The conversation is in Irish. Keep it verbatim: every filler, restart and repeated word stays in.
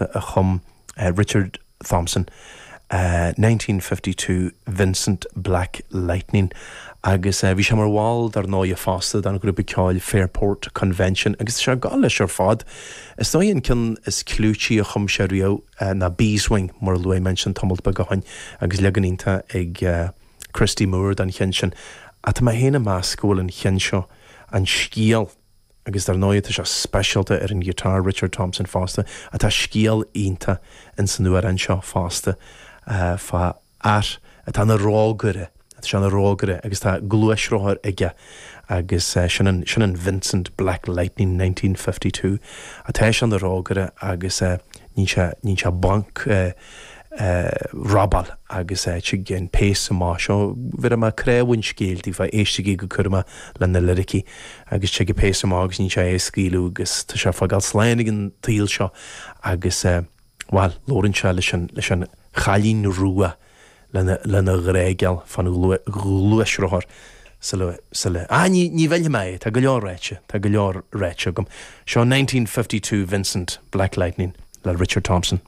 iontach a chum uh, Richard Thompson. Uh, nineteen fifty two Vincent Black Lightning agus uh, bhí sé mar bhall dar ndóigh fosta den ghrúpa ceoil Fairport Convention agus sé ga leis ar fad. Is dóigh an ceann is clúití a chum sé riamh uh, ná Beeswing mar luaigh mé ansin tamall beag ó shin agus leagan iontach ag uh, Christy Moore den cheann sin. Ach tá mé féin ag meas go bhfuil an cheann seo an scéal agus dar ndóigh tá sé speisialta ar an guitar Richard Thompson fosta atá scéal iontach in san amhrán seo fosta uh, fá fhear atá ina rógaire atá sé ina rógaire agus tá gluaisrothar aige agus uh, sin an, sin an Vincent Black Lightning nineteen fifty two atá sé ina rógaire agus uh, ní sé ní sé banc uh, uh, robáil agus uh, tig an péas amach seo bhí mar creabhain scéil fa éistigí go cúramach le na liricí agus tig péas amach agus ní sé é scaoileadh agus tá sé fágáil slán ag an tsaol seo agus uh, well labhraíonn sé leis an leis an chailín rua lena lena ghréigeal fan ghluaisrothar sula sula ah ní ní bhfuil mé tá go leor ráite tá go leor ráite agam. Seo nineteen fifty two Vincent Black Lightning le Richard Thompson.